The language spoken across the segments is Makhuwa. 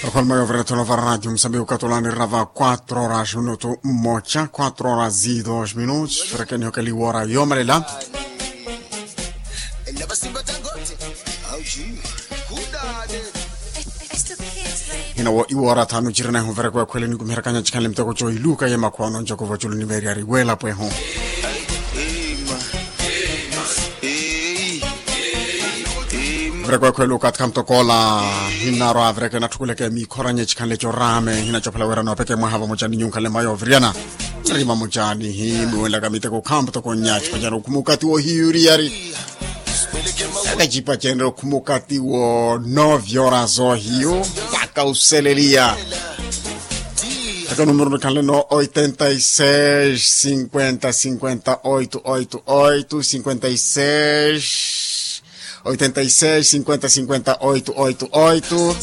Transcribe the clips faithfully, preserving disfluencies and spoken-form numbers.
Rokholma yovirethela vara radio musambiki okatolani rava quatro horas minutu mmocha quatro horas e dos minutos. Rekeniho kaliwora yomalela. Hinawo iwora thanu cirina ehuvereko ekhwele nikumiherakanya cikhanle miteko co iluka ye makhwano ncokova culu niveryari wela pweho. Vireko ekhwele okathi khamutokoola. Hinarwa vireke natthukuleke mikhoranye cikhanle corame hinacophela wira noopeke mwaha vamoca ni nyunkhanle mayo viryana. Rima mocani hi mwiwelaka miteko khamutoko nya cipacana okhuma okati wohiyuriyari. Aka cipacenre okhuma okati wo nove horas ohiyu. Mpaka useleliya. Aka numero nikhanleno oitenta e seis cinquenta cinquenta oito oito oito cinquenta e seis oitenta e seis cinquenta cinquenta oito oito oito.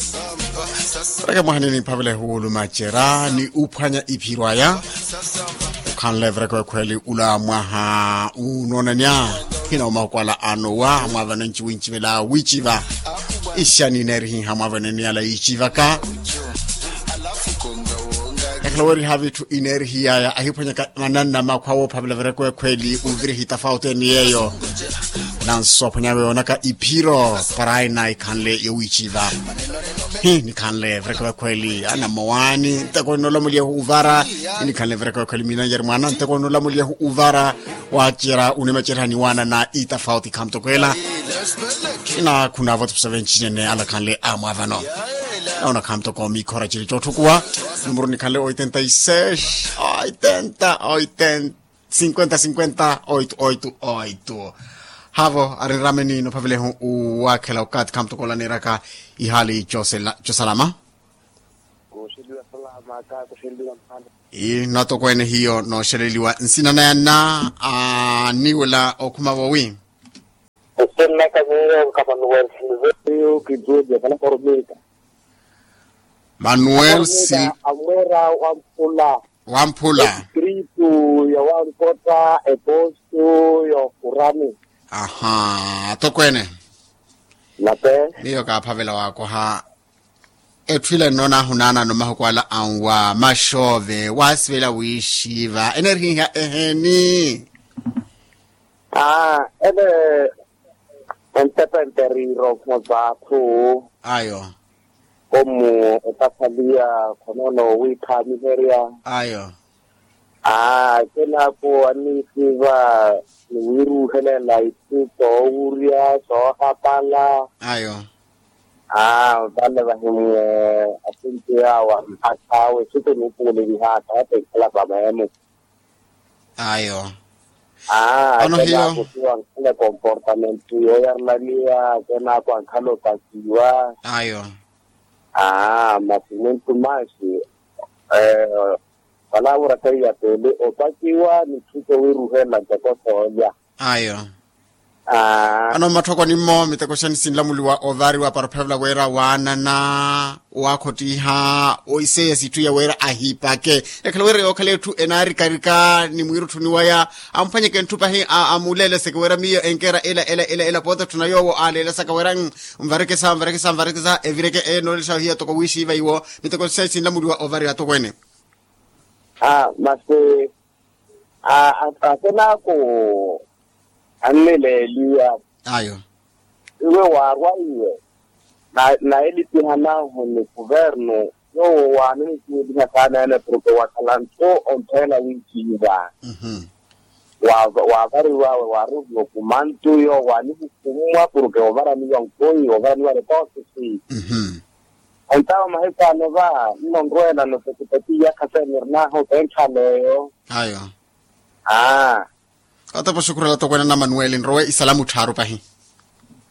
Reke mwaha nini mphavela ehuwulu macera ni uphwanya iphiro aya. Okhanle vireko ekhweli ula mwaha unoonanya. Hina omahukwala anowa mwavano nciwincivela wiciva. Ixani neerihiha mwavano niyala yicivaka. Ekhala weriha vitthu ineerihiyaya ahiphwanyaka mananna makhwa woophavela vireko ekhweli uvirihi tafauti eni yeeyo. Nanso aphwanya weyo onaka iphiro. Para aina ikhanle yowiiciva. Hi nikhanle vireko ekhweli anamowani nteko nolamuliyehu uvara. Hi nikhanle vireko ekhweli minanjeri mwana nteko nolamuliyehu uvara. Waacera unimacerihani waana na itafauti khamutokweela. Inakhuna voti pusa vencinene alakhanle amwavano. Naona khamutoko mikhora ciri cotthukuwa. Numero nikhanle oitenta e seis oitenta oitenta cinquenta cinquenta oito oito oito. Havo arinrameni nophavelehu uwakhela okathi khamutoko olaniraka ihali cosalama. Kuxeliwa salama ka kuxeliwa mano. Ii natokwene hiyo noxeleliwa nsina naya na aniwela okhuma vowi. Nsina ka miyo ka manuel silverio kiduja kana koromita. Manuel sil amwera wa mpula. Wa mpula. Espiritu ya wankota eposto ya okurani. Aha atokwene. Nape. Miyo kaaphavela wakoha. Etthu ila nnoona ahunaanano mahuku ala anwa maxoove waasivela wiixiiva enerihiha eheni. Aa ene entepente riiro khuma zaathu. Ayo. Komu etaphaliya khonoono wiikhaamiherya. Ayo. Aa ekenaako anniisiiva niwiiruuhelela itthu soowurya soohapala. Ayo. Aa vale vahimwe asinti awa mpakha awe situnipuule vihaaka ata ikhala pameemo. Ayo. Aa vale vakusiwa nkhale komportamento yooyarilaniwa akenaako ankhala opakiwa. Ayo. Aa masi muntu maxi. Vale avura kaiya peele opakiwa ni tthu sowiiruhela ntoko soolya. Ayo. Ano mmatthoko nimmo miteko xani sinlamuliwa ovariwa para ophavela wira waanana waakhottiha oiseya sitthu ya wira ahipake. Ekhala wira yookhala etthu enaarikarika ni mwiirutthuni waya amphwanyeke ntthu pahi amuleeleseke wira miyo enkeera ela ela ela ela poota etthuna yoowo aaleelesaka wira nvarikisa nvarikisa nvarikisa evireke enoolelesa ohiya toko wiixiiva iwo. Miteko xani sinlamuliwa ovariwa atokweene. Aa masi aa akenaako annileeliwa. Ayo. Iwe waarwa iwe na elipihanahu ni kuvernu yoowo waaninikiweliha saana ene porke wakhala ntthu ompeela wiikiiva. Waavariwawe waaruuhiwa okumantu yoowo waanihukummwa porke ovaraniwa nkoi ovaraniwa rekoosisi. Entawe mahiku ano va nnonrweela notekiteki iyakha seenirinahu keenkhaleeyo. Ayo. Aa. Otepa oxukurela tokweene na manueli nrowe isalamu tthaaru pahi.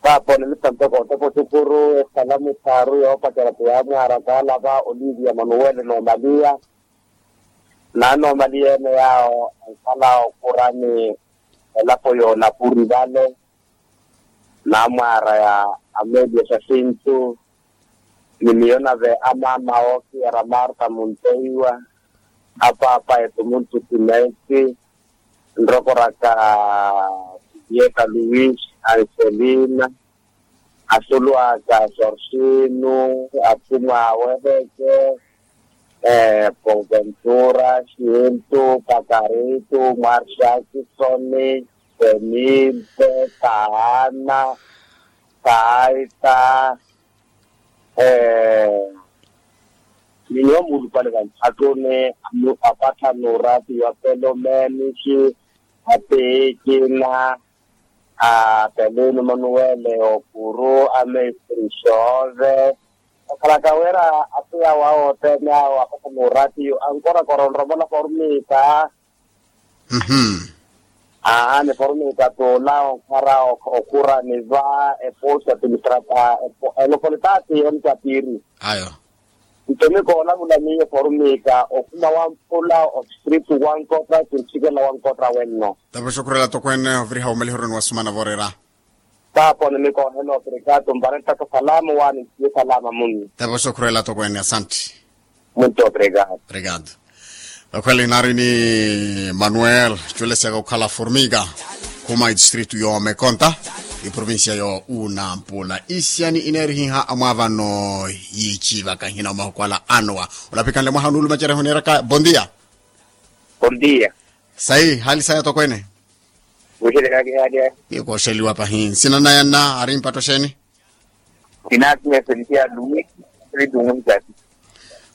Vaapo nimittantoko otepa oxukuru esalamu tthaaru yoopacerya ti yaamwaara kaalava olivia manueli noomaliya. Naanoomaliya ene yaawo ankhala okurani elapo yoonapuri vale. Naamwaara ya amelia xaxintu ni miyo nave amaama ookiyara marta munteiwa apaapa etu muntu timeeti nrokoraka. Yeka luis anselina Asulu aka sorsinu, atumwa aweveke, ponventura, xintu, pakaritu, mwarxaki, soni, senipe, taana, taita, ni nyuwo muulupale vanthakuni, apattha nuurati wa pelomenixi, apiikina, a pelinu manuwele okuru, amestri xoove. Okhalaka wira apiya wawo othene awo apattha nuurati ankorakora onromola formita. Aa ni formita tula onkhara okhurani va eposa tilitrata. Elopolitati onitapiri. Ayo. Nto mi koolavula miyo formita okhuma wa mpula ostritu wa nkota kinsikela wa nkota wenno. Tapo xukurela tokweene oviriha omaliheroni wa sumana vorera. Tapo ni mi koohela obrigado mpare ntaka salama wani nsiye salama muni. Tapo xukurela tokweene asanti. Muntu obrigado. Obrigado. Okhwela inari ni manuel culesiaka okhala formika khuma idistritu yo mekonta iprovincia yo unampula isiyani ineerihiha amwavano yiicivaka hina omahukwala anowa. Olapikanle mwaha onuuluma cereho neeraka bondia. Bondia. Sayi hali saya tokwene. Wixelekaki hali. Nikooxeliwa pahi nsina naya nna ari mpatto xeeni? Sinaakiya felisiano luis.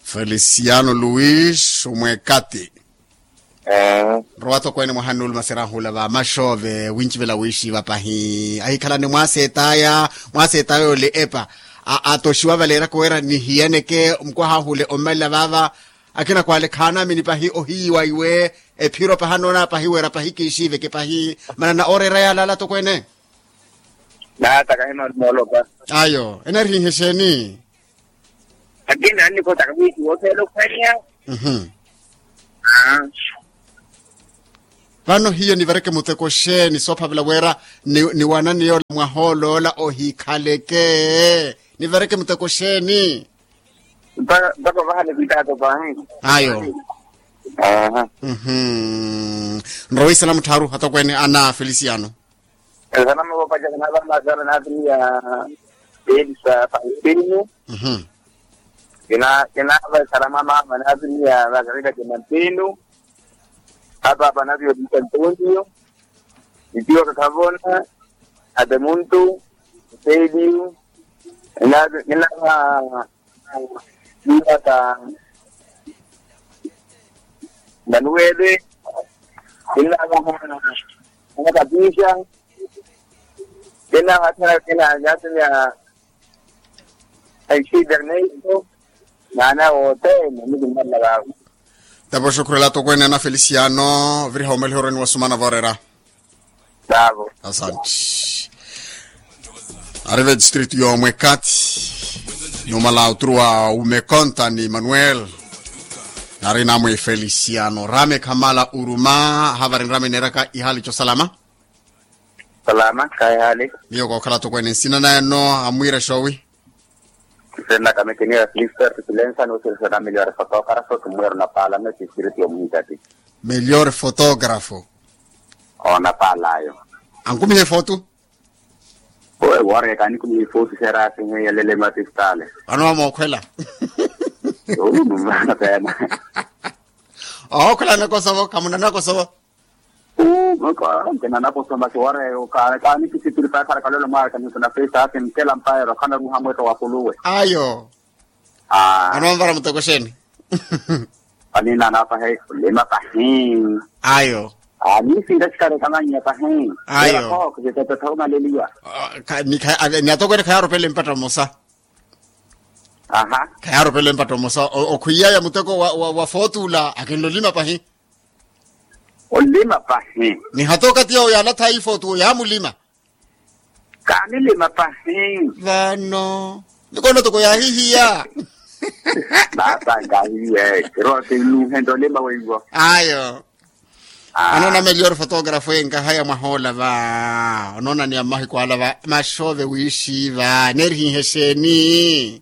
Felisiano luis omwekati. Nrowa tokwene mwaha nnuuluma sirahula va maxoove wincivela wiixiva pahi ahikhalani mwaaseetaya. Mwaaseetaya ole epa atoxiwa valeeraka wira nihiyaneke mukwaha hule ommalela vaava. Akina kwale khaanaamini pahi ohiyiwa iwe ephiro pahi anoona pahi wira pahi kiixiiveke pahi. Manana ooreera yaalaala tokwene. Naata kahimala moolopa. Ayo eneerihihe xeeni? Akina annikotaka wiixiwa otheela okhwaniya. Vano hiyo nivareke muteko xeeni soophavela wira niwanani yoola mwaha oloola ohikhaleke? Nivareke muteko xeeni? Mpaka mpaka ovaha nikwiitaaka opahi. Ayo. Aha. Nrowa isalamu tthaaru atokweene ana felisiano. Esalamu voopaca kinaavana masala naatuniya elisa pampinu. Kinaava esalamu amaama naatuniya makarita kinampinu. Apaapa naviyo lisa ntontiyo. Itiwa kakhavona atemuntu. Eseeliyu. Kinaava. Lilaka manuwele. Kinaava. Kinaava kapisha. Kinaava kinaava kinaava. Aisida ernesto. Naana wote. Namukimmalla vaavo. Tapo xukurela atokweene ana felisiano viriha omaliheroni wa sumana voorera. Asanti. Ari ve distritu yoomwe kati. Numala oturuwa umekonta ni manuel. Nari namwe felisiano rame khamala uruma. Havari nrame neeraka ihali cosalama. Salama khayi hali. Miyo kookhala atokweene nsina nayano amwiira xoowi? Nsina naka mekeniya ya filista ya tutulensa ni wosirisana miliwari fotokaraso kimwiira onapalame tispiriti yomuhikati. Melior fotografo. Onapalayo. Ankumihe fotu. Owe wooreka anikumihe fotu xerasi heyelele matistale. Vano wamookhwela. Okhwela nakosovo khamuna nakosovo. Nkinanakoso masi wooreka kanikisipiri paakhala kalolo mwaaka niso na festa akinkela mpaero khanaruha mwetto wa kuluwe. Ayo. Anoonvara muteko xeeni? Aninana pahi olima pahi. Ayo. Anisinta xikale kamanyiya pahi. Ayo. Kitetetha omaleliwa. Ni atokweene khayaaropele mpatta mmosa. Aha. Khayaaropele mpatta mmosa okhwiyaya muteko wa footula akinla olima pahi. Olima pahi. Ni hata okati yawo yaalatha ifootu yaamulima. Kaanilima pahi. Vano nikoona toko yaahihiya. Nasa nkaahihiya. Kirowa kinuhenta olima weiwo. Ayo. Anoona melior fotografo enkahaya mwahoola va. Onoona ni ammahiku ala va maxoove wiixiiva neerihihe xeeni?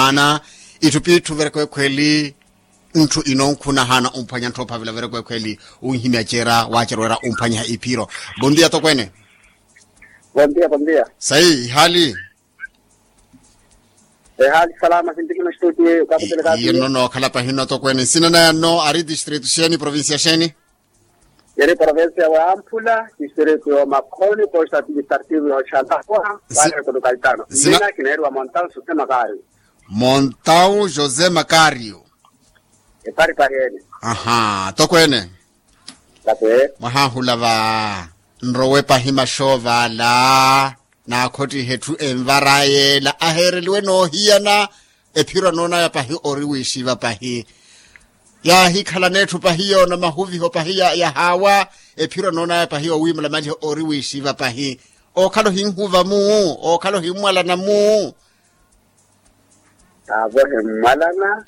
maana itthu p'itthu verekwekhweli ntthu inonkhuna haana omphwanya ntthu ophavela verekwekhweli. Onhimya cera waacera wira omphwanyiha iphiro. Bondia tokweene. Bondia bondia. Sayi ihaali. Ehaali salama sinti hino stuti. Iyo nno nookhala pahino tokweene nsina naya nno ari distrito xeeni provincia xeeni? Eri provincia wa amphula distrito yo makhoni posta administrativo yo xalapwa. Wale kulukaltano nsina kinaeriwa montaw susema kaari. Montaw josé makario. Eparipari ene. Aha tokweene. Mwahaahula va nrowe pahi maxoova ala. Naakhottihe etthu envaraya ela aheereliwe noohiyana. Ephiro anoonaya pahi ori wiixiva pahi. Yaahikhalana etthu pahi yoona mahuviho pahi yahaawa. Ephiro anoonaya pahi owiimala maliho ori wiixiva pahi. Ookhala ohinhuva-mu. Ookhala ohimmwalana-mu. Taavo himmwalana.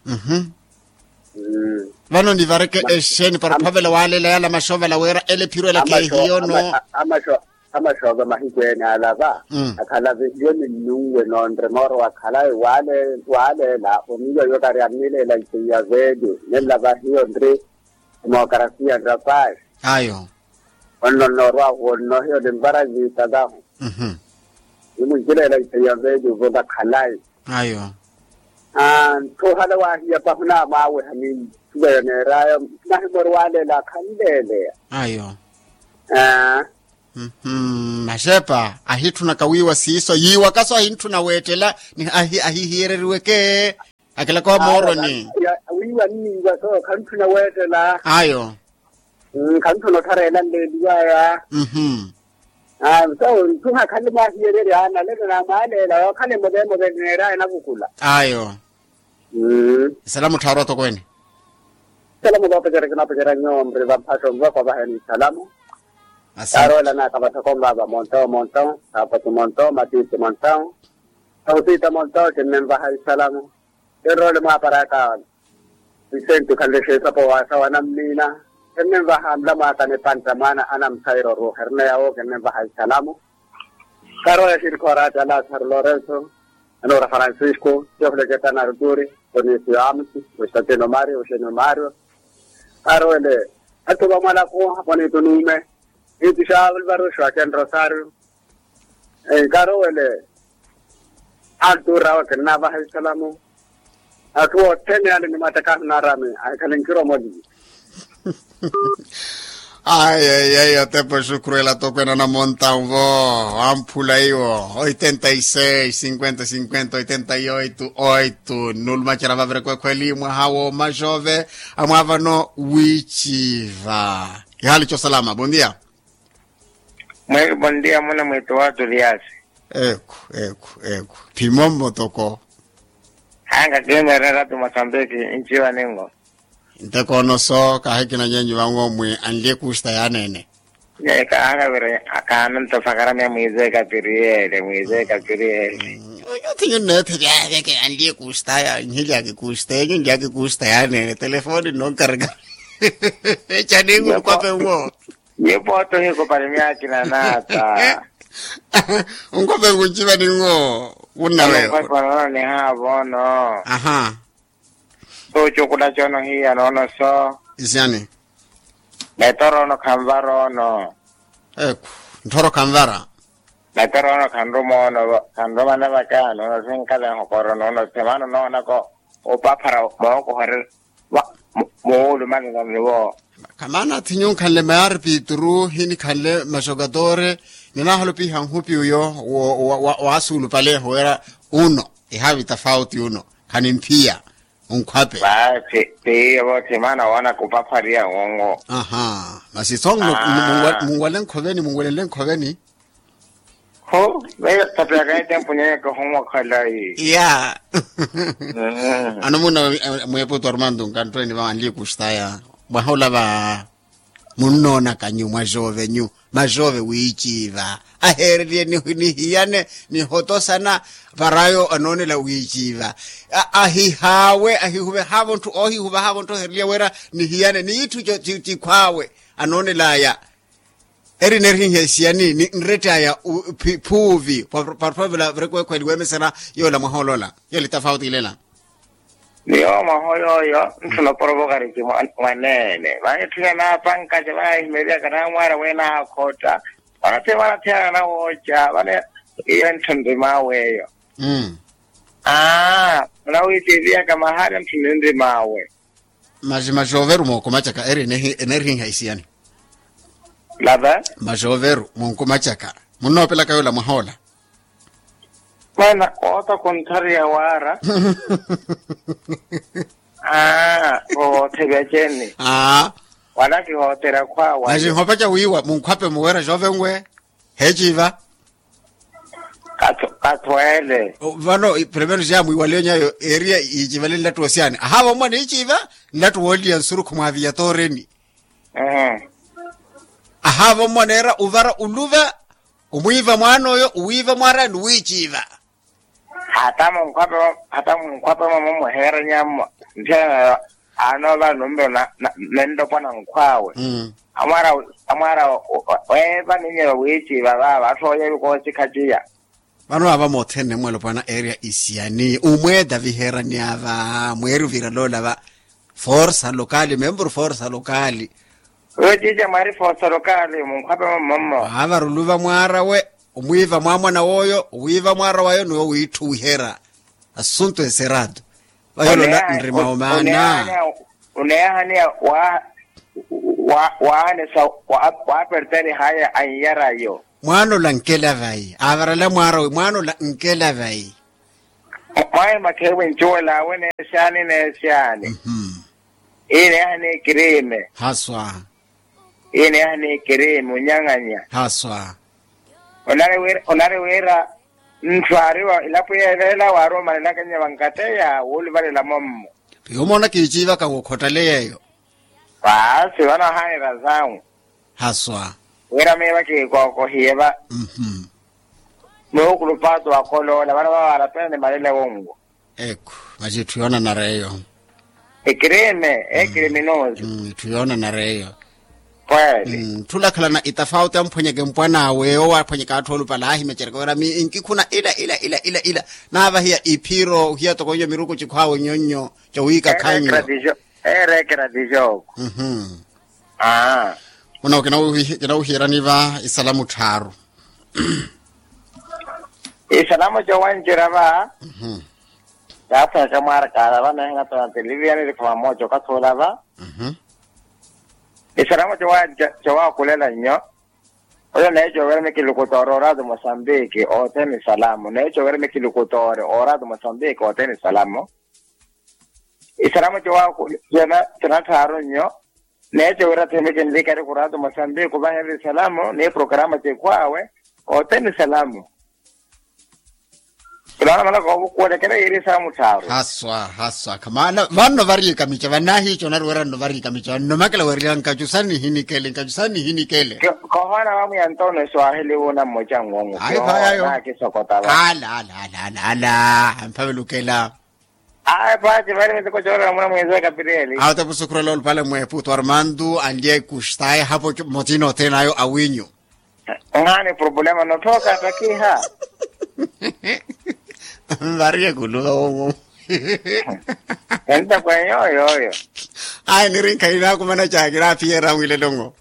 Vano nivareke exeeni para ophavela waaleela yaala maxoova ala wira ela ephiro ela kheehiyono. Amaxoova mahiku ene ala va akhala vihiyo ninnunwe noonre mooro wa khalayi. Waaleela oniiwa iwe kari annileela nteiya veeli ninlava hiyo nri demokarasiya nrapayi. Ayo. Onno nnoorwahu onno hiyo ninvara nyiitalaho. Nimunkileela nteiya veeli ovonga khalayi. Ayo. Nthu ohala waahiya pahu naamwaaweha ni nthuva yo neeraya. Nahimori waaleela akhanleeleya. Ayo. Maxepa ahitthunaka wiiwa siiso yiiwaka so ahintthuna weettela. Ahihiyereriweke akilaka wa mooroni. Wiiwa nniiwa so khantthuna weettela. Ayo. Khantthuna otthareela nleeliwaya. Mmm. Nthu hakhanle mwaahiyererya nalelo naamwaaleela yookhale move move neeraya enavukula. Ayo. Isalamu tthaaru atokweene. Isalamu voopecerya kinapecerya nyuwo mri vamphaxo mvoko vaheni isalamu. Kaarowelanaka vathoko mvaava montaw montaw saapatu montaw matiiti montaw. Sausita montaw kinnenvaha isalamu. Kinroole mwaaparaka. Vicente khanle xeesapo waasa wa nammiina. Kinnenvaha nlamwaaka nipantta mwaana anamsayiro ruuha erina yawo kinnenvaha isalamu. Karoya xirikhoorati a lasaru lorenso, anoora francisco, teofilo ketana arturi, tonisio amusi, constantino mario oxenio mario. Karowele atthu vamwalaku aponitu nuume. Itixa alvaro xwaken rosario. Enkarowele. Altura awe kinnavaha isalamu. Atthu othene ale ni matakahu naarami ahikhale nkiromoli. Ai ai ai otepo xukru ela tokwena na montaun vo. Amphula iwo oitenta y seis cinquenta cinquenta oitenta y oito oito nulumacela vaverekwekho eli mwaha wo maxove. Amwavano wichiva. Ihali cosalama bondia. Mweli bondia muna mwito wa tuliasi. Eku eku eku. Phimo mmotoko. Hanga kimerera tu masambiki nchiwa ningo. Ntekoono so kaahikina nyenyu vanwo mwi anlye kusta yaneene. Nyeka hanga vire akana ntofakara mya mwize kapiriyele mwize kapiriyele. Oyo thinyu nneethe vyaaveke anlye kusta ya nhilyaki kusta enyu nlyaki kusta yaneene telefoni nnonkareka. Echaningu nkwape nwo. Nyupo otohiko pali myaakina naata. Onkhope nkunciva ningo. Wunnaweewa. Onkhope onono nihaavono. Aha. Soocukula cono hiya noono so. Isyani. Metoro ono khanvara ono. Eku. Nthoro khanvara. Metoro ono khanruma ono khanruma navaka noono sinkale nhokoro noono semana noonako. Opaphara mookohorera. Muwulumanela niwo. Khamana athinyu nkhanle mayari pituru hinikhanle maxokatore. Ninaholopiha nhupi uyo. Waasuulupaleho wira uno ihavi tafauti uno. Khanimphiya. Onkhwape. Paathi. Tiiyo vootthi maana woona kupaphariya wonwo. Aha. Masi song munwale nkhoveni munwelenle nkhoveni. Ho. Veyo tapeyaka etempu nyenyeke ohonwa khalayi. Ya. Ano muna mweeputu armandu nkanttweeni vawanliye kustaya mwaha ola va munnoonaka nyu mwaxoove nyu maxoove wiiciiva aheereliye nihiyane nihotosana. Varayo anoonela wiiciiva ahihaawe ahihuvehaavo ntthu oohihuvehaavo ntthu oheereliye wira nihiyane ni itthu cikhwaawe anoonelaya. Eri neerihiha esiyani ni nrett'aya phuuvi. Parpavela virekuwekhweli weemesera yoola mwaha olola yoole tafauti ilela. Ni yoowo mwaha oyooyo ntthuna oporova okarici mwaneene vaahitthunya naapankaca vaahimeryaka naamwaara weenaakhotta. Vanathi vanathiyana nawooca vana iyo ntthu nrimaawe eyo. Aa munawiitiiviyaka mahaali ntthu ninrimaawe. Masi maxooveru mookumacaka eri eneerihiha isiyani. Lava. Maxooveru mookumacaka munnoopelaka yoola mwaha ola. Mwaana oota kontthariya waara. Aa othevya ceni. Aa wala kihooterya khwaawa. Masi nhopaca wiiwa munkhwape muweera xoovenwe heeciiva. Kathweele. Vano primero siya mwiiwaliyo nyayo eriya yiicivale nlattu wa siyani ahaava ommwana iiciiva nlattu wooliya nsurukhu mwaaviya tooreni. Ahaava ommwana eera uvara uluva omwiiva mwaan'oyo owiiva mwaaraya ni wiiciiva. Hata munkhwape mwa mumweheeranyammo ntthena nayo. Anoova numero nenttopwana nkhwaawe. Amwaara weeva ninyewa wiiciiva vaava atthu ooyevi koosikhaciya. Vano ava mothene mwalopwana eria isiyani umweeta viheeranyava mweeri oviraloolava. Forsa lokali memburu forsa lokali. Oyo ciica mwaari forsa lokali munkhwape mwa mmammo. Ava ruluva mwaarawe omwiiva mwaamwana wooyo owiiva mwaarawayo ni owiitthu wiheera. Assunto eseratu. Vayolola nrima omaana. Uneehaniya waahanisa waapertani haya anyarayo. Mwaanola nkela vayi aavarala mwaarawe mwaanola nkela vayi. Mwahimakheewe ncuwelaawe neesyaani neesyaani. Iineeha ni ekirime. Haswa. Iineeha ni ekirime onyang'anya. Haswa. Onari wira ntthu aari wa ilapo yeeveela waari omanelaka nyewa nkateya wooluvalela mommo. Yoomona kiiciivaka wookhotale yeeyo. Paasi vano ahaanira sangu. Haswa. Wira miiva kiikookohiye va. Muukulu paatu wakoloola vano vavaarapena ni malele wonwo. Ekhu. Masi etthu yoonanara eyo. Ekirime ekirime noosi. Etthu yoonanara eyo. Kweli. Tthu olakhalana itafauti amphwenyeke mpwan'awe owo aphwenyeke atthu oolupale aahimecereke wira mi nkikhuna ila ila ila ila ila naavahiya iphiro ohiya toko nyo miruku cikhwaawe nyonnyo. Cowiikakhanyo. Ereekera tijooko. Muno kinawuhiirani va isalamu tthaaru. Isalamu cowancerya va. Yaaphweka mwaarakaala va neehinatona teliviya nirikhuma mooca okathi ola va. Isalamu cowaakulela nnyo. Oyo neecoovera mikilukutooro orato mosambiki othene isalamu neecoovera mikilukutooro orato mosambiki othene isalamu. Isalamu cowaakulela cona tthaaru nnyo. Neeco wira thimiki nlikari khurato mosambiki ovahererya isalamu ni programa cikhwaawe othene isalamu. Khulawana malaka ovukuwelekela yiiri isalamu tthaaru. Haswa haswa khamana vanno variyika mica vanahiica onari wira nno variyika mica vanno makela werya nkacu sani nihinikele nkacu sani nihinikele. Khohwana vamwiya ntono swahili wuna mmoca nng'ong'o. Ayi phayayo. Ala ala ala ala ala amphavelukela. Ayi paati vale miteko coorela muna mwinzaka pirieli. Awo tapusukhurela olupale mweepu twarmandu anliya ikustaye hapo motino othene ayo awinyu. Nhaani problema notthoka takiha. Nvariye kuluva wowo. Enta kwenye oyo oyo. Ayi nirinkha inaakumana caakira aphiyera mwilelong'o.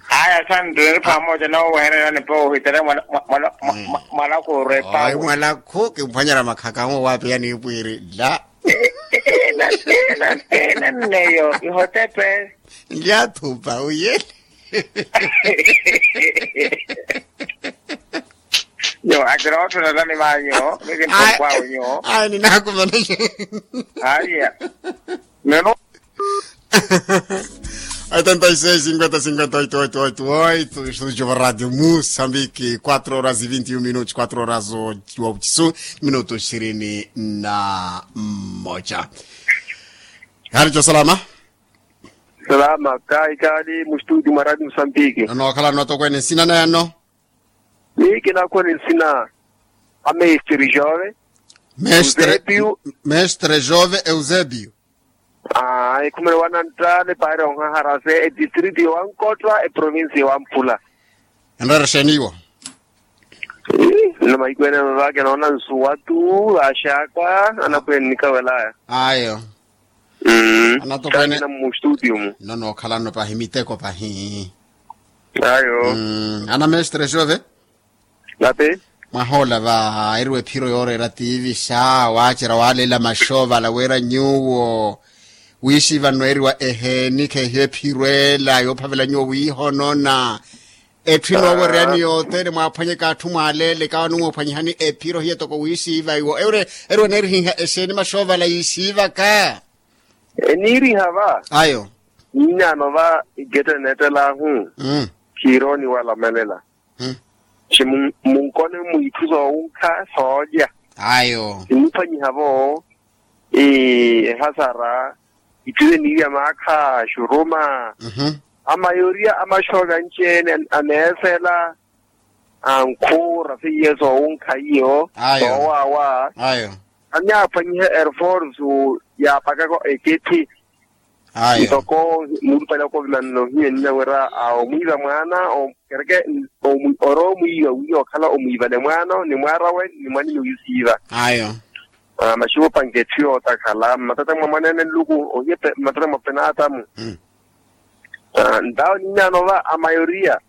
Aya santu niri pamoja nawe wehererani po ohitera mwalakhu orwe pawe. Mwalakhu kimphwanyera makhaka awo waapiya niipwiiri la. Nneyo ihotepe. Nlyathupa uyele. Nyo akira otthuna tani manyo, miki mpompo awo nyo. Ayi ninaakumana. Ayiya. Neno. Oitenta e seis cinquenta cinquenta oito oito oito oito, estudio va radio musambiki quatro horas e vinte e um minutos quatro horas wa ucisu minutos ishirini na mmoja. Hali jo salama. Salama kayi kaali mu studio mwa radio musambiki. Nono wakhala nno tokwene nsina nayano. Ni kinakhwene nsina a mestre jove. Mestre jove eusebio. Aa ekhumele wananttale paari onhaharase edistritu yowankottwa eprovinsi yowamphula. Enreera exeeni iwo? Nno mahiku ene vavake noona nsuwa tu vaaxaka anakhwene nikawelaya. Ayo. Anatokwene mustutio mu. Nno nookhalanno pahi miteko pahi. Ayo. Ana mestre jove. Nape. Mwahoola va eriwa ephiro yooreera tiivixa waacerya waaleela maxoovala wira nyuwo wiixiiva nno eriwa eheeni kheehiyo ephiro ela yoophavela nyuwo wiihonona. Etthu enoowereyani yothene mwaaphwanyeke atthu mwaaleeleke awo animwoophwanyihani ephiro hiyo toko wiixiiva iwo eriwa neerihiiha exeeni maxoovala yiixiivaka. Eniiriha va. Ayo. Ninyaano va iketta eneettelaahu. Khiirooni walamelela. Xi munkone mwitthu soowunkha soolya. Ayo. Simuphwanyiha-vo ehasara. Itthu seniirya maakha xuruma. Amayoriya amaxooka anci-ene aneesela. Ankhuura seiye soowunkha iyo. Ayo. Soowaawa. Ayo. Annyaphwanyiha erforsu yaapakaka eketthi. Ayo. Ntoko muulupale okovimanela ohiya enina wira omwiiva mwaana kereke oroomwiiva wiiya okhala omwiivale mwaano ni mwaarawe ni mwanini wiisiiva. Ayo. Maxuupanke etthu yootakhala mmatata mwa mwaneene nluku ohiya mmatata mwa penaatamu. Ntawo ninyaano va amayoriya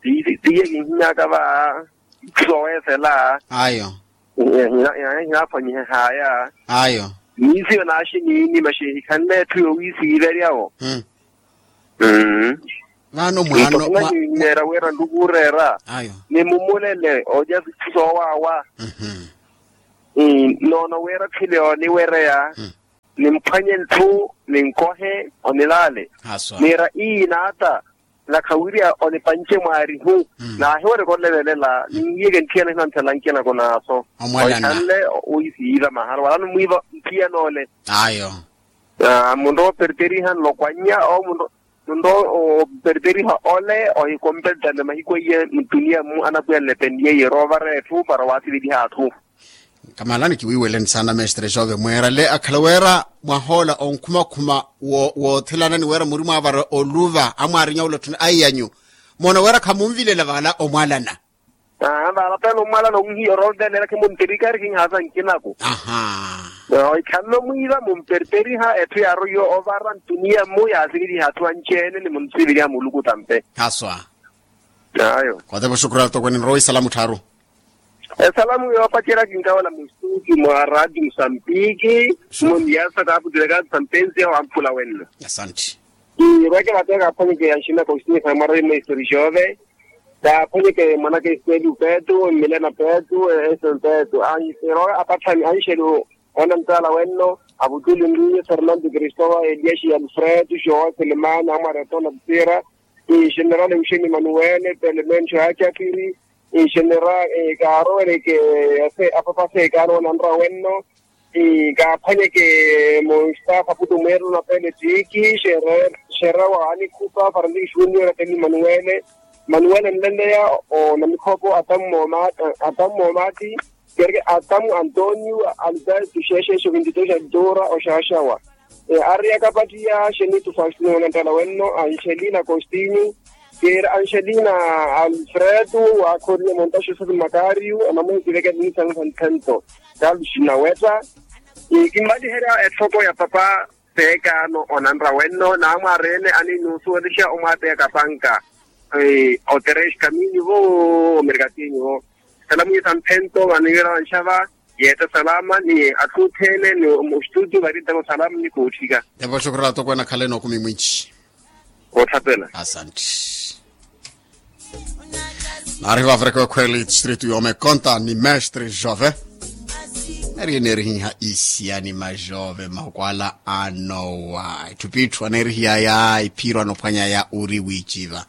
tiiye kinhimyaka va. Itthu sooweesela. Ayo. Hinaphwanyihehaya. Ayo. Miisiyo naaxiniini maxi ehikhanle etthu yoowiisiiverya-wo. Vano mwaano. Neera wira nlukuureera. Ayo. Nimumulele olya itthu soowaawa. Noono wira khile oniwereya. Nimphwanye ntthu ninkohe onilaale. Niira ii naata. Nakha wiriya onipanche mwaarihu. Naahiwereke olevelela ninwiyeke nthiyana hinanthela nkinako naaso. Oikhanle. Oisiiva mahala wala nimwiiva nthiyanoole. Ayo. Munrowa operteriha nlokwannya owo munrowa operteriha ole ohikompeltane mahiku eiye mutuniya mmu anapwiya nlepeniye yeroovara etthu para waasiveliha atthu. Kamahalani kiwiiweleni saana mestre jove mweerale akhala weera mwahoola onkhumakhuma woothelana ni weera muri mwaavara oluva amwaarinya olatthuna aiyanyu. Moona weera khamunvilela vaala omwalana. Vaala pena omwalana onhiya orovelela khimumperikari khinhaasa nkinako. Oikhanle omwiiva mumperperiha etthu yaaroiye ovara ntuniya mmu yaasiveliha atthu anci-ene ni munsiveliha muluku tampe. Haswa. Ayo. Kotepa oxukurela tokwene nrowa isalamu tthaaru. Esalamu yoopacerya kinkawela mustuti mwa radio musambiki. Mmo niyasa kaaputireka sampensi ya wamphula wenno. Asanti. Ii veke vateeka aphwanyeke yanxina kostinisa mwarari mweistori xove. Kaaphwanyeke mwanaka esiteli upetu mmilena petu. Eston petu anxero apatthani anxelu. Onanttaala wenno avutuli nriye fernando cristovao eliaxi alfredo joa selemani amwareto na putira. General euxeni manuele pelemencho acapiri. General kaarowereke apapa seekaano onanra wenno. Kaaphwanyeke mustafa putu mweerelo na pele tiki. Xerra wa anikhupa farantiki junior pele manuele. Manuele nleleya onamikhopo atamu moomati. Kerke atamu antonio alberto xeexeexo vinti dos altura oxaxawa. Ariyaka patiya xenitu faustino onanttala wenno anxelina costinho. Kera anxelina alfredo waakhoriye monta joseph makario anamwekiveke nisangu santhento. Carlos nawetta. Kimmaliherya etthoko ya papa. Seekaano onanra wenno naamwareene aninuusuwelixa omwaapeyaka panka. Oterex kaminyu vo omerikatinyu vo. Salamu ya samphento vaniwira vanxava. Yeetta salama ni atthu othene ni mustudio varintako salamu ni kootthika. Evo xukurela tokwene akhaleni okumi mwinci. Ootthapela asanti. Naari vavireke wekhweli distrito yomekonta ni mestre jove. Eri enerihiha isiya ni majove mahukwala anowa etthu pitthu anerihiya ya iphiro anophwanya ya uri wiiciva.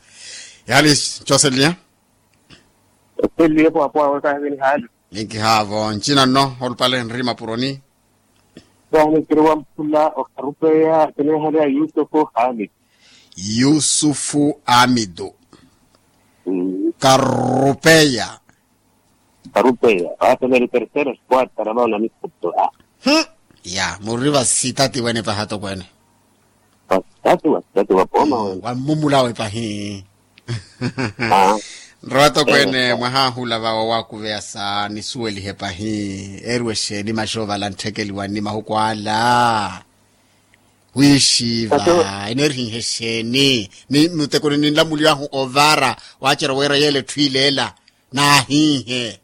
Yali joseliya. Oseliye pwapwa wekahivini hali. Ninkihavo ncina nno olupale nri mapuroni. Vahana kiri wamphula okarupeya kinehale ya yusufu hali. Yusufu amidu. Karupeya. Karupeya. Vaatela eri terceira esquadra na vaona mikuto a. Ya muri vasitati wene pahatokwene. Vasitati vasitati vapoma wene. Wammumulawe pahi. Nrowa tokwene mwahahula vawo wakuveya sa nisuwelihe pahi. Eriwe xeeni maxovala ntthekeliwani mahukwala. Wiixiva enerihihe xeeni? Ni mutekuni ninlamuliwahu ovara wacerya wira yela etthu ileela. Naahiihe.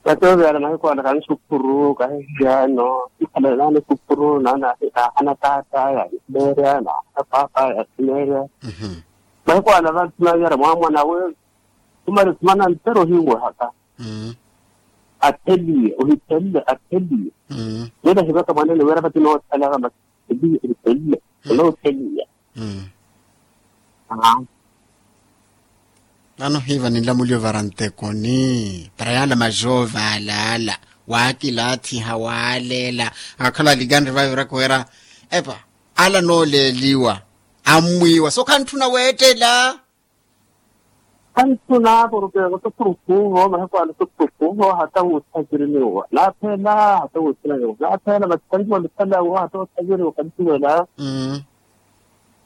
Kateoviyana mahiku ana kanisuphuru kahihiyano. Ikhalanani suphuru nana ahana taataya simeerya na ahana paapaya simeerya. Mahiku ana vanthuna yara mwamwana we. Tumari tumana ntero hiwehaka. Atheliye ohithelile atheliye. Nene hivaka mwanene wira vati noothelaka masi. Ebi ebi ebi. Olotheliya. Nano hiiva ninlamuliyo vara ntekoni para yaala majove alaala. Waakilaathiha waaleela. Akhala alikanre vaviraka wira epa ala nooleeliwa. Ammwiiwa so khantthuna weettela. Khanttuna porke otuturukuvo mahiku ala otuturukuvo hata wuuthakiriniwa naaphela hata wuuthakiriniwa naaphela masi kanjuwa lipelawo hata wuuthakiriniwa kanjuwela.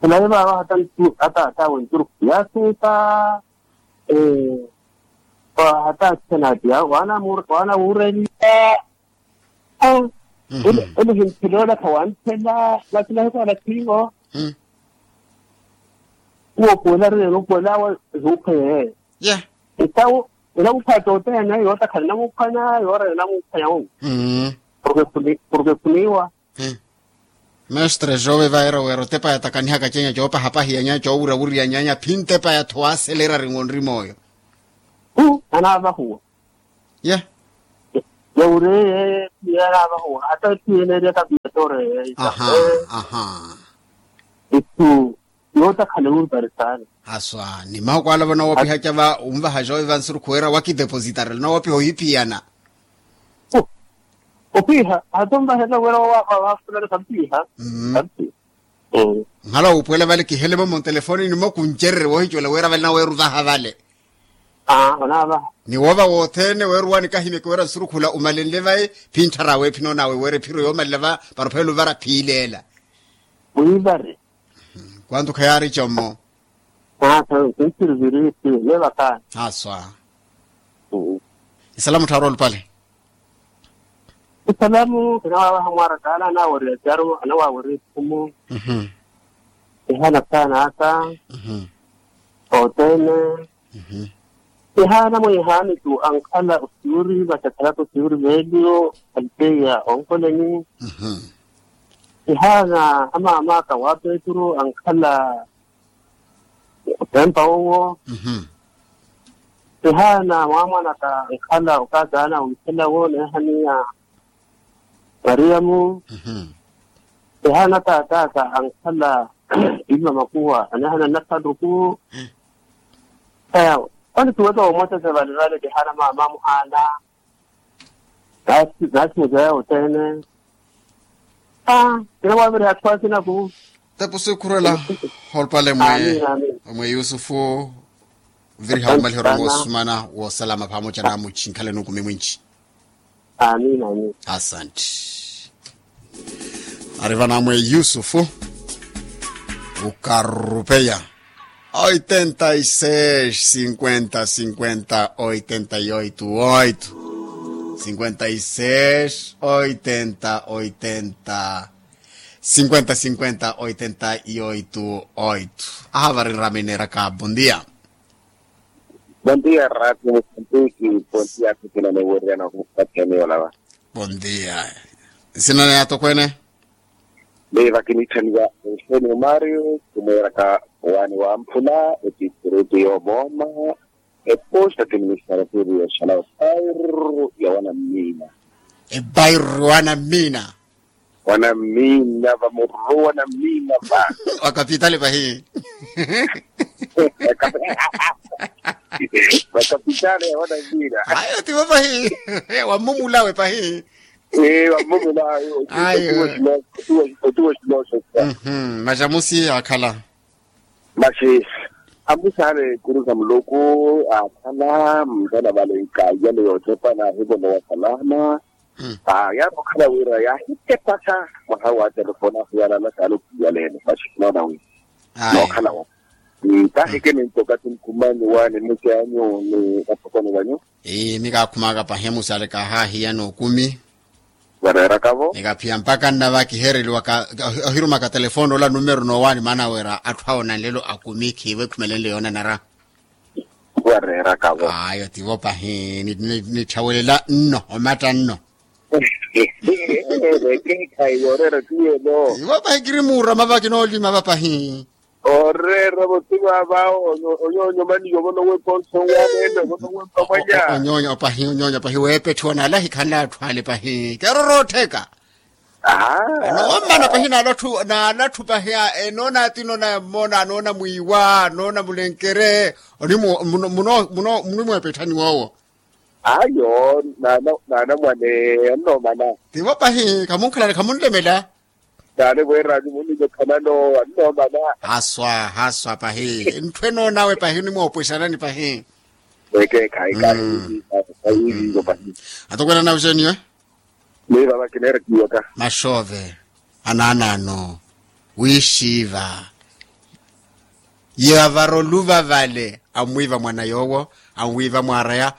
Khulayi vaava hata ntu ataatawe nturuku yaasuuta. Hata athena atiya waana wuureliya. Ene himphiloola khawanthela masi mahiku ala khiivo. Uwo puwela ariyene upuwela awe ehuukhweya yeeyo. Etawo enamuphato oteene yootakhala enamuphwanya yoora enamuphwanya. Porke khuniiwa. Mestre jove vaira wira otepa yatakanihaka cenya coopahapahiya nyanya coowurawuriya nyanya phintepa yatho waaselerari ngonri mooyo. Anaavahuwa. Ye. Yawureye yanaavahuwa hata ethu yeneerya kapiya tooreye. Ethu yootakhala ewurutari saana. Haswa ni mahuku ala vano woopiha cava unvaha jove vansurukhu wira wakidepositarela na woopiha ohiphiyana. Opiha hata onvahela wira wafulani kampiha. Nhala wuupuwela vale kihele momo ntelefoni nimo kuncererye woohicuwela wira vale na weeru vaha vale. Ni woova wothene weeruwani kahimyeke wira nsurukhula umalenle vayi phintthara aweephinonawe wira ephiro yoomalela va para ophelela ovara phiileela. Kwantu khayaari commo. Aa. Haswa. Isalamu tthaaru olupale. Isalamu kinawaawaha mwaaraka ala anaweriya caru anaweriya ikhumu. Ihaana saana aka othene. Ihaana mwiihaani tu ankhala osiyuri vatakhalaka osiyuri veeliyo aliteya onkoleni. Ihaana amaamaka wa petru ankhala otempa wowo. Ihaana mwaamwanaka ankhala okazaana wiithela wo neehaniya mariyamu. Ihaana taataka ankhala iva makuwa aneehana nnakhaluku. Eya. Onituweka womotese valevale kihaana maama amuhaana. Naasi muzeya othene. Aa. Kinawaaviriha atthu akinaku. Tepu sikhurela olupale mwe. Mwe yusufu. Viriha omaliha orong'osumana woosalama paamoca na muchi nkhaleni okumi mwinci. Asanti. Ari vano amwe yusufu. Ukarupeya. Oitenta y seis cinquenta cinquenta oitenta y oito oito. Cinquenta y seis oitenta oitenta. Cinquenta cinquenta oitenta y oito oito. Aha vari nramineeraka bondia. Bondia rati musantiki. Bondia kutina niwiriyana kupatheni olava. Bondia. Nsina ni atokwene. Miva kinitthaniwa enseni omario kumwiraka wani wamphula etipurutu yoomoma. Eposta ti ministara siri ya xalawa. Bairru ya wana mmina. Ebairru wana mmina. Wana mmina va murru wana mmina va. Wa kapitali pahi. Va kapitali ya wana mmina. Ayo tivo pahi. Wa mmumulawe pahi. Ee va mmumulawe. Ayo. Otuwa xiloso. Maxa musi akhala. Maxi amusaale kuru sa muluku. Akhala mutana vale nkayale yootepana ahivolowa salama. Yaari okhala wira yaahitepasa mwaha wa telefoni ahuyalala saale okiyaleene maxi noona wi nookhala wo. Taahike nintoka ti nkumanyu waani mmusi anyu ni vathokoni vanyu. Ii mikakhumaka pahi musaale kaahahiyana okumi. Vareerakavo. Nikaphiya mpakha nnava kihereliwaka ohirumaka telefoni ola numero noowaani maana wira atthu awo nanlelo akumi khiivo ekhumelenle yoonanara. Vareerakavo. Ayo tivo pahi nitthawelela nno omatta nno. Ekeekhayi yooreera tiyelo. Tivo pahi kiri muurama va kinoolima va pahi. Oreera voti vaava. Onyoonyo mani yovonowepa onsowaneene ovonowepa mwanya. Onyoonyo pahi onyoonyo pahi weepetthiwa naale ahikhanle atthu ale pahi keeroroottheka. Onoomana pahi naale atthu pahi enoona ati noona yammona anoona mwiiwa anoona mulenkere. Oni munimweepetthani woowo. Ayo naana mwane. Onnoomana. Tivo pahi khamunkhalani khamunlemela. Naale weerani munninyokhanano annoomana. Haswa haswa pahi ntthu enoonawe pahi onimwoopwesanani pahi. Ekeekhayi kahiiviivo pahi. Atokwelanana oxeeniwe. Miiva vakineera kiiwaka. Maxoove anaanaano wiixiiva. Yavara oluva vale ammwiiva mwana yoowo. Ammwiiva mwaaraya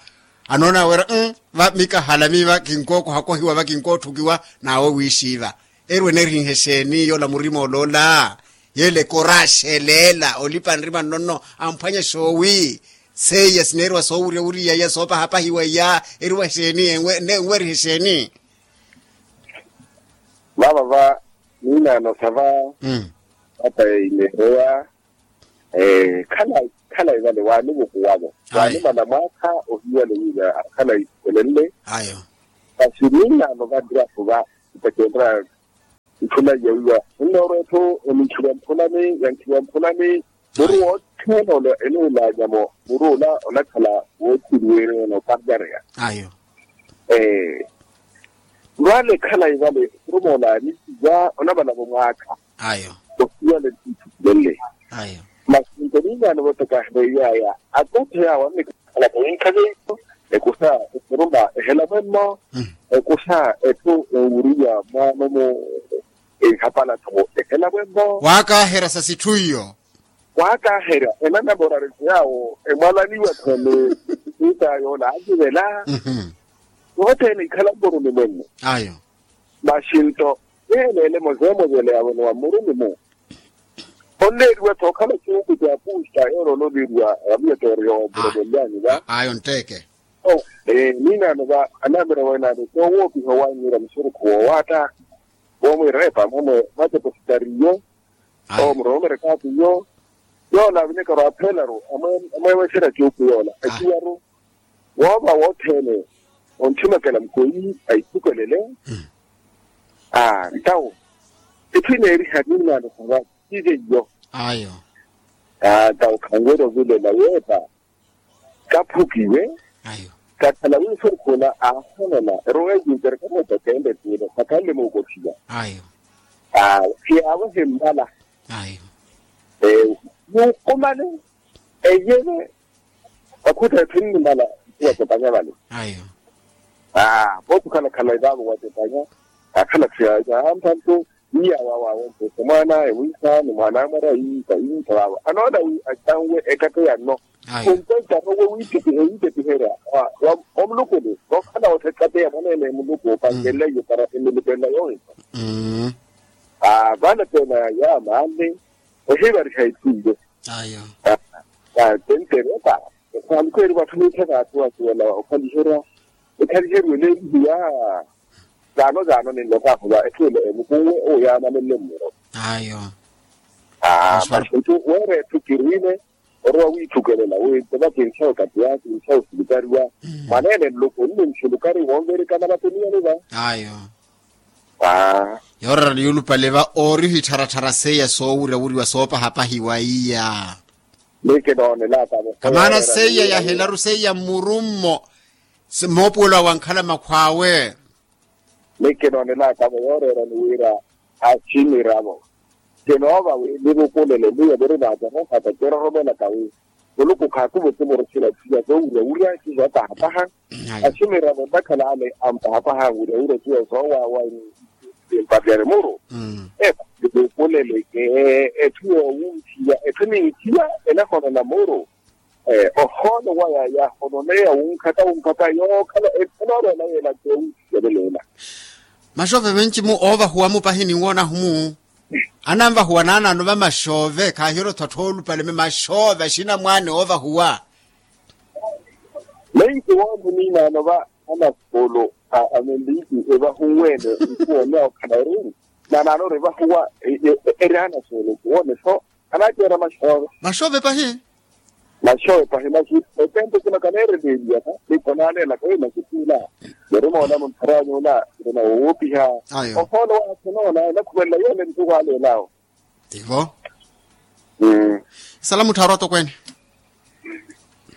anoona wira va mikahala miiva kinkookohakohiwa va kinkootthukiwa. Naawe wiixiiva eri wenerihihe xeeni yoola murima oloola? Yeele ekora axeleela olipa nrima nnono amphwanya xoowi. Seiya sineeriwa soowurya wuriyaya soopahapahiwaya eriwa xeeni? Enwerihe xeeni? Vava va miinaano sa va. Vata ya imeheya. Khalayi vale waanivukuwavo waanimana mwaakha ohiwale wiiva khalayi elenle. Ayo. Masi miinaano va drafu va itakenra. Nthuna ya wiiva nnoorwa etthu oninkhiwa mphulani yankhiwa mphulani. Muru wothene ole enuulanyamo muru ola onakhala woothiliweryana oparyareya. Ayo. Vale khalayi vale orumoolaani ya onavalavo mwaakha. Ayo. Osiwale ntitthukilele. Ayo. Masi nto niinaano vote kahireiyaya atothe yawo annikhalaka winkhaveiko ekusa esuruma ehela mwemmo. Ekusa etthu enwuriwa mwaano mu enhapala tho ehela mwemmo. Waakaaherya sa sitthu iyo. Waakaaherya enanamorari tho yaawo emwalaniwa tho ni siita yoola aakivela. Yothene ikhala mmurumi mwenno. Ayo. Maxi nto yeeleele mozeemozeele yaawonowa mmurumi-mu. Onneeriwa-tho okhala cuuku ca puusta yoolololiwa vamiya tooriya wamuromolyaani va. Ayo ntteke. Niinaano va anaamira wenaano toowoopiha owaanyiira musurukhu woowaatta. Woomwiira epaamha mwe mwatepositariyo. Owo muroomerekaatiyo yoola avinekaro aphelaru amweeweserya cuuku yoola aciwaru. Woova wothene ontthimekela mukweyi aithukelele. Ntawo etthu ineeriha niinaano sa va. Tiive iyo. Ayo. Ntawo khanwerya ovilela weepa kaphukiwe. Ayo. Kakhala wiiso nkhula aaholela erowa ekintereka moota keempe tiile sakhanle muukothiwa. Ayo. Khiyaavo himmala. Ayo. Mukumale eyeve. Vakhuta etthu nnimala. Watepanya vale. Ayo. Aa vookukhalakhala evaavo watepanya. Akhala thiya aampa nto. Iya wawawe ntoko mwaanawe wiisaani mwaanawe mwarayi kayiita wawa anoona wi atanwe ekato yanno. Khunkwentano we wiitepiherya wa mulukulu. Nookhala othekateya mwaneene muluku opankeleiye para emilupela yoowipa. Vale pena yaamaale ohivariha etthu iyo. Tentere ota. Esaluku eri vatthu niithaka atthu asuwela okhaliherya ekhaliherya oleelihiya. Zaano zaano ninlokaahu va etthu elo emukuwe owo yaamanenle mmuro. Ayo. Aa maxintu weera etthu kiriine. orowa wiithukelela wi ntova kinsa okati ya kinsa osilukariwa. Mwaneene nluku nni nsulukari woonverikana vatuniyani va. Ayo. Yoorera ni yulupale va oori ohittharatthara seiya soowuryawuryiwa soopahapahiwa iya. Ni kinoonelaka vo kamaana seiya yahelaru seiya mmurummo. Moopuwelo awe ankhala makhw'awe. Ni kinoonelaka vo yooreerani wira asimiravo kinoova wi nivukulele miyo miri vaacarohata kiroromelaka wi muluku khaakuvo timurusila tiya soowuryawurya tiya soopahapaha. Asimiravo ntakhala ale ampahapaha wuryawurya tiya soowawa. Mparyani muru epa nivukulele ke etthu yoowunthiya etthu niithiya enahonona muru. Ohoolo waya yahononeya wunkhaka wunkhaka yookhala ephenoorela yeela kewi. Yeleleela. Maxoove menci mu oovahuwa-mu pahi ninwoonahu-mu ananvahuwa naanaano va maxoove khaahirottho atthu oolupale me maxoove axinamwaani oovahuwa. Menci woomuniinaano va anasuulu a menliiti evahunweene nkuwoneya okhala eri naanaano ori evahuwa eri anasuulu nkuwone so. Anaaceera maxoove maxoove pahi. Maxoove pahi maxi otempo kuna kaneereleeliya ka nikhonaanelaka wi maxi tiila. Niri moona muntharany'ula nrina woopiha. Ohoolo waakhenoona enakhuvelela yoole ntuku aleelaawo. Tivo. Isalamu tthaaru atokweene.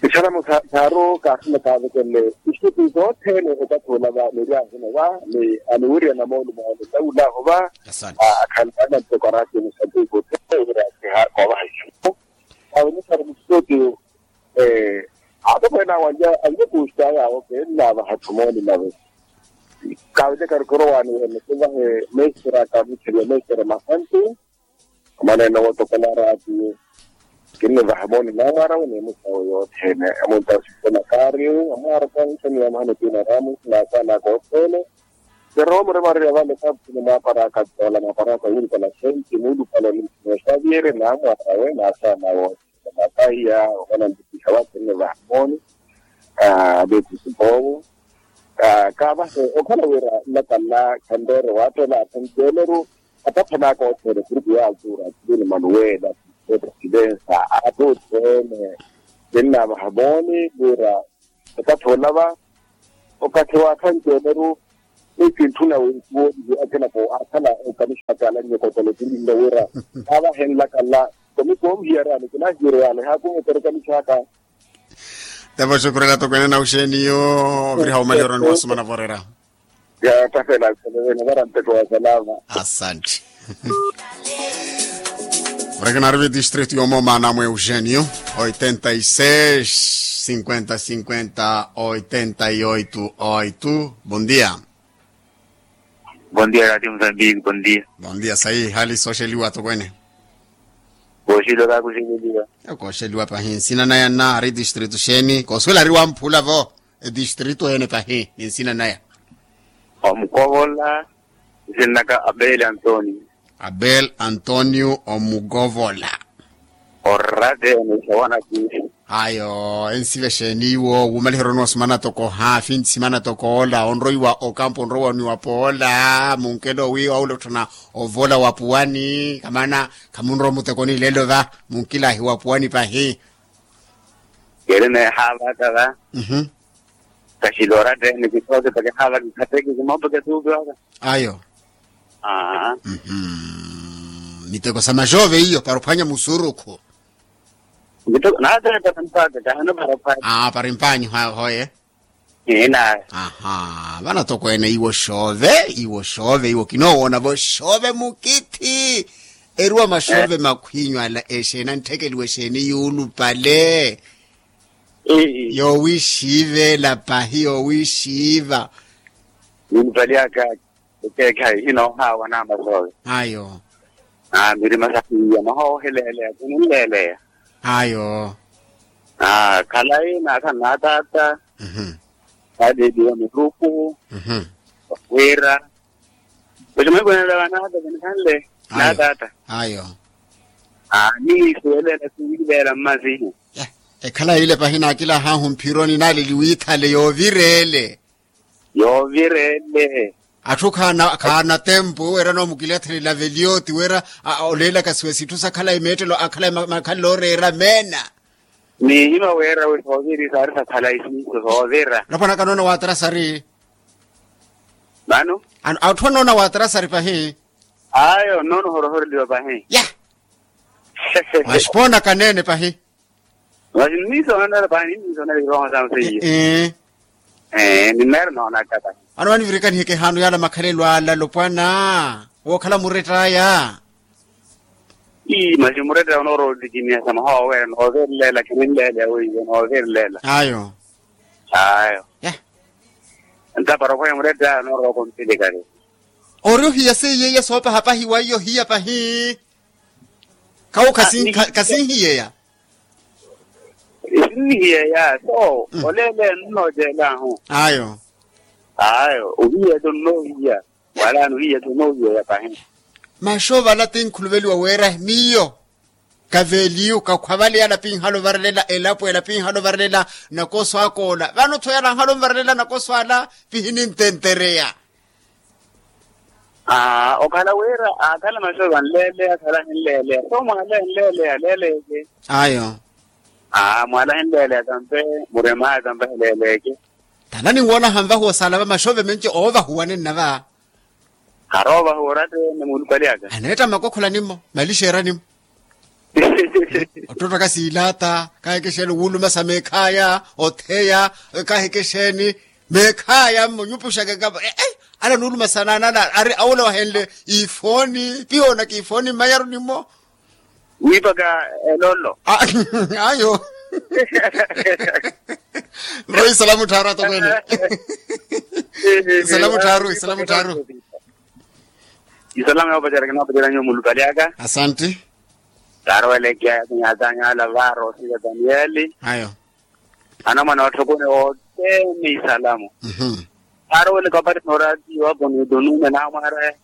Isalamu tthaaru kaasina kaavekenle isipi sothene ekathi olava niri ahino va ni aniwiriyana moolumo awo nilawulaaho va. Akhalana ntoko araatiyo musatiku othene wira akiha koovaha isipi. Awo nisari musitotiyo. Aatokweene awo anlya kuusta yaawo keennaavaha tthumoni nave. Kaavelekari korowaani wene kivahe mestre akamutheliwa mestre masantu. Omanene wootokela araatiyo kinnivaha mooni naamwaara wene emusawo yothene. Emunta osisitena kaariyo amwaara kankheniwa mahano tiina raamu naasaanaka othene. Keroomo remarerya vale kaapusini mwaaparaka toola mwaaparaka wiirikana senti muulupale olimphini osaaviyerye naamwaara we naasaana woothene. Mataiya omana ntikiha wathene vahamoni. Veekusi voovo kaavahe okhala wira nnakanla khanreere waattela athanceeleru. Ataphanaka othene kurupu ya altura atuluni manuwela presidensa atutthene. Ninnavahamoni wira okathi olava okathi waathanceeleru. Ni kintthuna winthuwo iwo akinako akhala okanixaka ala nyokotolo kilinle wira avahenlaka nla. Komikoomhiyarani kinahiyeryani haakumetereka nixaka. Tevo xukurela tokweene na uxeeniyo oviriha omalihero ni wasumana vorera. Yatafela aselevene varanteko wasalama. Asanti. Murekinari vi district yomomaana mwe eugenio oitenta y seis cinquenta cinquenta oitenta y oito oito. Bom dia. Bom dia radio mozambique bom dia. Bom dia sayi hali sooxeliwa tokwene. Kooxeliwa kaakuxeleliwa. Kooxeliwa pahi nsina naya nna ari distrito xeeni koosuwela ari wamphula vo. Edistrito ene pahi ni nsina naya. Omukovola nsinnaka abel antonio. Abel antonio omukovola. Orate ene isawana ti. Ayo ensive xeeni iwo wumaliheroni wa simana toko haafi simana toko ola onroiwa okampu onroiwa oniwa poola munkelo wi waula otthana ovola wa puwani kamana khamunrowa mutekoni lelo va munkilahi wa puwani pahi. Keri neehaavaka va. Kaxilora tene kithooke pakihaavaka ikhateke kimoopeke tuupiwaka. Ayo. Miteko sa maxove iyo para ophwanya musurukhu. Miteko naatene para mpaka kahano para ophwanya. Para empanyu hoye. Ina. Aha vana tokweene iwo xove iwo xove iwo kinoowoona vo xove mukithi. Eriwa maxove makhwinyu ala exeeni antthekeliwa exeeni yuulupale. Yoowixiivela pahi yoowixiiva. Yuulupale aka ekeekhayi inoohaawa naamasowe. Ayo. Mirima sahiiya mahooheleeleya kuninleeleya. Ayo. Khalayi naakhala naataata. Adeediwa miruku wira. Kuximwekwenela vanaka vinikhanle naataata. Ayo. Niisuwelela siwiileela mmazihu. Ekhala yile pahi naakilahaahu mphironi naaleli wiithale yoovireele. Yoovireele. Atthu khaana khaana tempu wira noomukilathelela veliyoti wira oleelaka siwe sitthu sakhalayi meettelo akhalayi makhalelo ooreera meena. Niihima weera wi sooviri saari sakhala isiiso soovira. Lopwanaka noona waatarasari. Mano. Atthu anoona waatarasari pahi. Ayo noona ohorohoreliwa pahi. Ya. Mwaxipoonaka neene pahi. Masi nniisoonanela pahi nniisoonanela iroho saamu seiye. Ee. Nimeera noonaka pahi. Ano vanivirika niheke ehaano yaala makhalelo ala lopwana wookhala murettaya. Ii masi murettaya onoorotikiniha sa mwaha wooweera noovirlela kininleeleya weiwo noovirlela. Ayo. Ayo. Ntapara okhweya murettaya onooroka ompilikari. Ori ohiya seiye iya soopaha pahi weiyo ohiya pahi. Kawo kasinhiyeya. Esinnihiyeya so oleeleya nnooceelahu. Ayo. Ayo ohiya to nnoohiya. Wala anohiya to nnoohiyeya pahi. Maxoova ala tinkhuluveliwa weera miyo kaveeliyu kakhwavaleya ala pinhala ovarelela elapo ela pinhala ovarelela nakoso akoola vano tho yala anhala onvarelela nakoso ala pihinintentereya. Aa okhala wira akhala maxoova nleeleya akhala ahinleeleya so mwaala ahinleeleya aleeleke. Ayo. Aa mwaala ahinleeleya tampe muremaya tampe aheleeleke. Tala ninwoonaha nvahuwa saala va maxoove menci oovahuwa ninna va. Haroovahuwa oratte ni muulupali aka. Aneetta makokhola nimmo malixeera nimmo. Ottottaka siilaata kahekexeeni wuulumasa meekhaya otheya kahekexeeni meekhaya mmo nyupuxaka ekapa. Ala nuulumasa naana ala ari awula wahenle ifooni pihoonaka ifooni mmayaru nimmo. Wiipaka elolo. Ayo. Nrohi isalamu tthaaru atokwene. Isalamu tthaaru isalamu tthaaru. Isalamu yoopacerya kinoopacerya nyuwo mulupali aka. Asanti. Taarowelekiya yasinyatanyu ala vaaro osila danieli. Ayo. Anamwana watthokoni othene isalamu. Taaroweleka opateni oraatiyo apo ni otonume naamwaraya.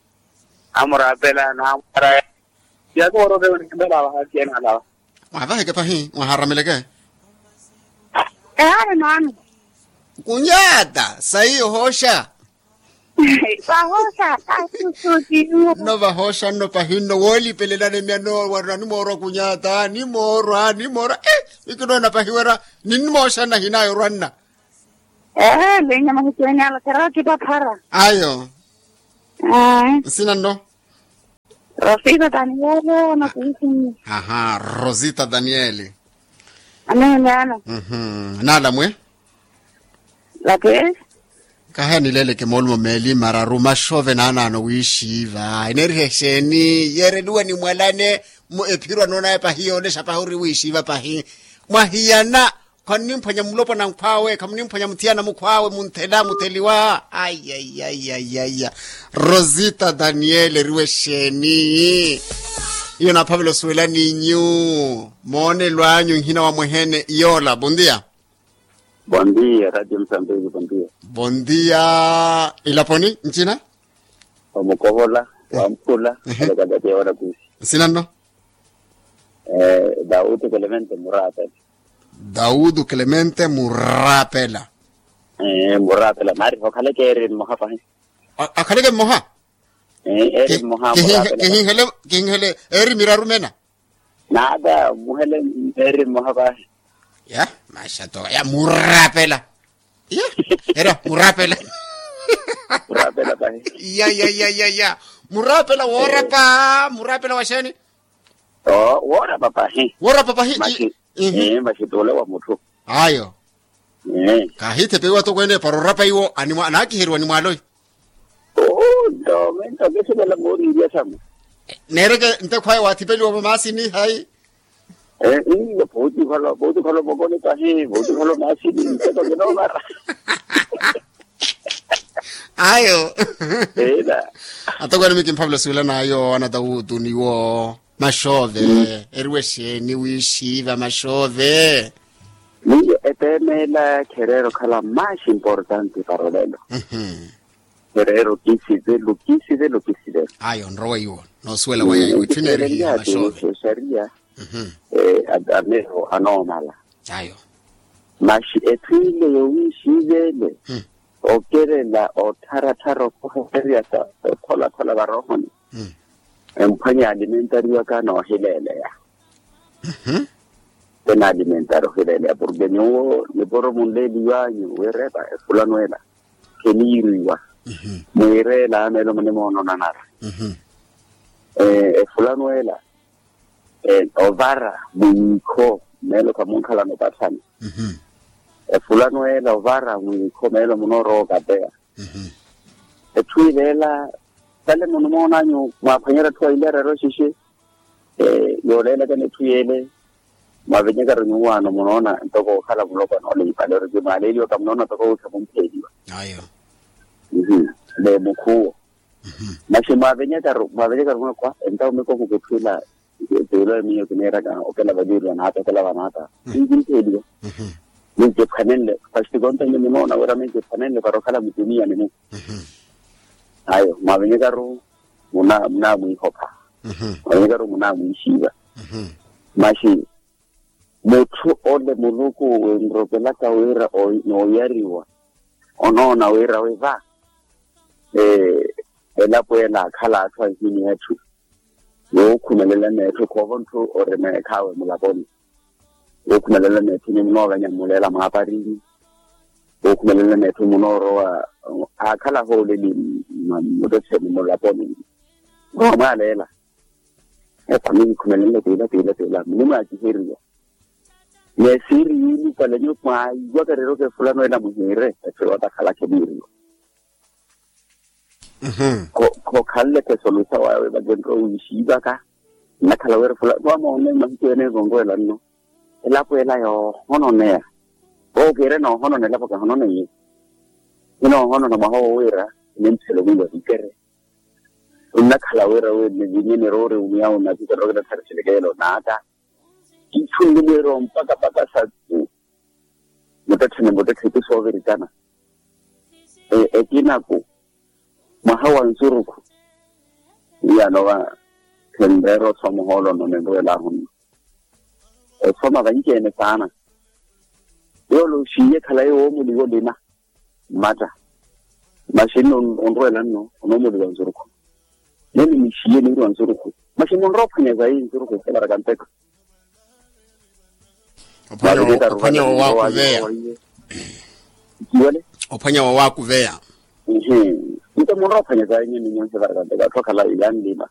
Amuraapela naamwaraya. Siyaku worokewe nikimbela vahakiye naalawa. Mwavaheke pahi mwaharameleke. Ehale maano. Kunyaata sayi ohosha. Vahosha. Nno vahosha nno pahi nno woolipelelana emyano wari nanimoorwa kunyaata nimoorwa nimoorwa. Ikinoona pahi wera ninnimooshana hinayo orwanna. Ehe linya mahikiwenyaala kherookipaphara. Ayo. Nsina nno. Rosita daniele. Aha rosita daniele. Aneene ana. Naala mwe. Lake. Kaha nileeleke moolumo meeli mararu maxove naanaano wiixiiva eneeriha exeeni yeereliwa ni mwalane. Ephiro anoonaya pahi yoolexa pahi ori wiixiiva pahi. Mwahiyana. Khwanimphwanya mulopwana nkhw'awe khamunimphwanya muthiyana mukhw'awe munthela mutheliwa. Aiaiaiaiaiya. Rosita daniele eriwe exeeni? Iyo naaphavela osuwela n'inyu. Moonelo anyu nhina wa mwehene yoola bondia. Bondia radio musambiki bondia. Bondia. Ilaponi ncina? Omukovola wamphula. Alekatati yoola kusi. Nsina nno? Dautu clemente murata. Dautu clemente murapela. Murapela nari okhaleke eri mmoha pahi. Akhaleke mmoha. Eri mmoha murapela. Kihinhele kihinhele eri miraru mena. Nata muhele eri mmoha pahi. Ya maxa to ya murapela. Ya era murapela. Murapela pahi. Ya ya ya ya ya. Murapela woorapa murapela wa xeeni? Woorapa pahi. Woorapa pahi. Maxituule wa mutthu. Ayo. Kaahiithepe iwo atokweene para orapa iwo anaakiheriwa ni mwaaloyi. Nto mento kisivela mooriirya samu. Neereke ntekhwaya waathipeliwa vamaasini hayi? Iyo pooti okhala pooti okhala omokoni pahi pooti okhala omaasini nteko kinoovara. Ayo. Atokweene mikimphavela osuwela n'ayo anatawuutu niwo maxoove. Eriwe exeeni wiixiiva maxoove? Miyo eteemela khereera okhala mais importante para olelo. Khereera okisivelo okisivelo okisivelo. Ayo nrowa iwo noosuwela waya iwo etthu ineerihiha maxoove. Xaria. Ameero anoomala. Ayo. Maxi etthu ile yowiixiivele okelela ottharattharya okohererya sa okholakola varohoni. Emphwanya alimentariwaka noohileeleya. Ena alimentari ohileeleya porke nyuwo nipuro munleeliwanyu wiirepa efulano ela kheniiriwa. Mwiireela meelo munimoonona nara efulano ela ovara mwiikho meelo khamunkhalana opathani. Efulano ela ovara mwiikho meelo munoorowa okapeya. Etthu ileela sale munimoonanyu mwaaphwanyerya atthu aili arero xixi. Yooleelakana etthu yeele mwavenyekaru nyuwaano munoona ntoko okhala mulopwana ole ipale oriki mwaaleeliwaka munoona ntoko wiikha mumpheeliwa. Ayo. Ni mukhuwo. Maxi mwavenyekaru mwavenyekaru mwakhwa entawo mikoku ketthu ila. Etuulo emiyo kineeraka okela valiiriwa naata okela vanaata. Ninkimpheeliwa. Ninkiphwanenle. Paxti konta nyi munoona wira ninkiphwanenle para okhala mutuniya ni mukhu. Ayo mwavenyekaru munamwiihopha. Mwavenyekaru munamwiixiiva. Maxi mutthu ole muluku winrokelaka wira nooyariwa onoona wira wiva elapo ela akhala atthu anhini atthu. Wookhumelela netthu khoova ntthu ori neekhaawe mulaponi. Wookhumelela netthu nyi munoovenya mmuleela mwaaparini. Wookhumelela netthu munoorowa aakhala hooleli mutetheni mulaponi. Mwaaleela. Epa minikhumelenle tiila tiila tiila munimwaakiheriwa. Neesiiri yiilupale nyu mwaiwaka reero kefulano ela muhiire. Efe watakhala kheniiriwa. Khokhanle khesolusa wawe vakenroowiixiivaka. Nnakhala wira fula vamoone mahiku ene ekonkowelanno elapo ela yoohononeya. Vookiire noohonona elapo kahononeiye. Kinoohonona mwaha wo wira ninthelo mwiiwa vikere. Nnakhala wira wi nivinye niroori omuyawo nakikarokela tthari silekeyelo naata. Itthu nlimwiiro mpaka mpaka sattu. Muttetthene muttetthe ipi soovirikana. Ekinaku mwaha wa nsurukhu. Iyaano va khenreera osoma ohoolo onno ninruwelaahu nno. Osoma vanci-ene saana. Yoole oxiiye khalayi woomuliwa olina mmatta. Maxi nno onruwela nno onoomuliwa nsurukhu. Nene nixiiye niiriwa nsurukhu. Maxi munroophwanya sayi nsurukhu ekevaraka mpekha. Ophwanya wowaakuveya. Ophwanya wowaakuveya. Nto munroophwanya sayi nyenye nyonse evaraka mpekha atthu akhala yanlima.